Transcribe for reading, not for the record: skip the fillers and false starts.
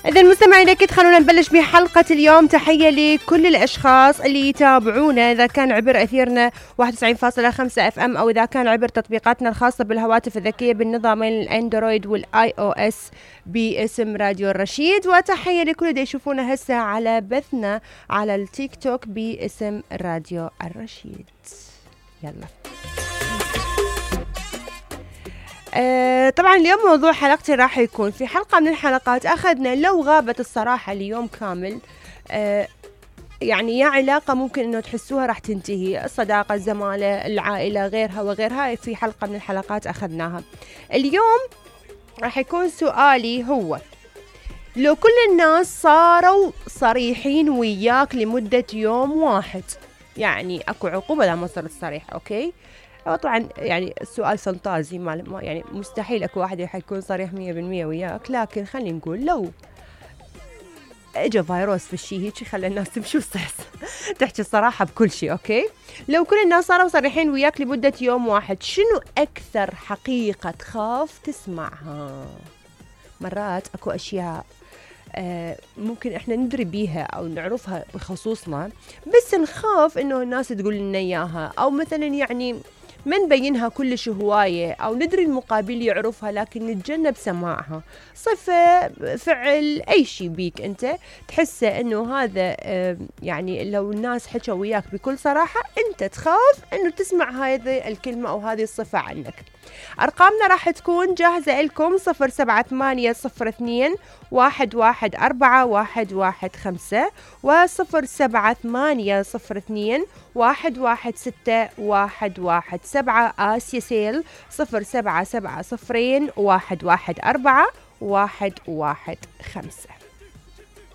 إذا المستمعين أكيد خلونا نبلش بحلقة اليوم. تحية لكل الأشخاص اللي يتابعونا إذا كان عبر أثيرنا 91.5 اف ام أو إذا كان عبر تطبيقاتنا الخاصة بالهواتف الذكية بالنظامين الأندرويد والآي أو اس باسم راديو الرشيد. وتحية لكل اللي يشوفونا هسه على بثنا على التيك توك باسم راديو الرشيد. يلا طبعا اليوم موضوع حلقتي راح يكون في حلقة من الحلقات أخذنا لو غابت الصراحة ليوم كامل. يعني يا علاقة ممكن أنه تحسوها راح تنتهي، الصداقة، الزمالة، العائلة، غيرها وغيرها. في حلقة من الحلقات أخذناها. اليوم راح يكون سؤالي هو: لو كل الناس صاروا صريحين وياك لمدة يوم واحد، يعني أكو عقوبة لا ما صرت صريح، أوكي؟ طبعا يعني السؤال فانتازي، ما يعني مستحيل اكو واحد حيكون صريح 100% وياك، لكن خلينا نقول لو اجى فيروس في الشيء هيك خلى الناس تمشي تحكي الصراحة بكل شيء، اوكي؟ لو كل الناس صاروا صريحين وياك لمدة يوم واحد، شنو اكثر حقيقة تخاف تسمعها؟ مرات اكو اشياء ممكن احنا ندري بيها او نعرفها بخصوصنا، بس نخاف انه الناس تقول لنا اياها، او مثلا يعني ما نبينها كلش هواية، أو ندري المقابل يعرفها لكن نتجنب سماعها. صفة، فعل، أي شيء بيك أنت تحسه أنه هذا يعني لو الناس حكوا وياك بكل صراحة أنت تخاف أنه تسمع هذه الكلمة أو هذه الصفة عنك. أرقامنا راح تكون جاهزة لكم: 07802 114 و07802 116 117 آسيا سيل 0770 114 115.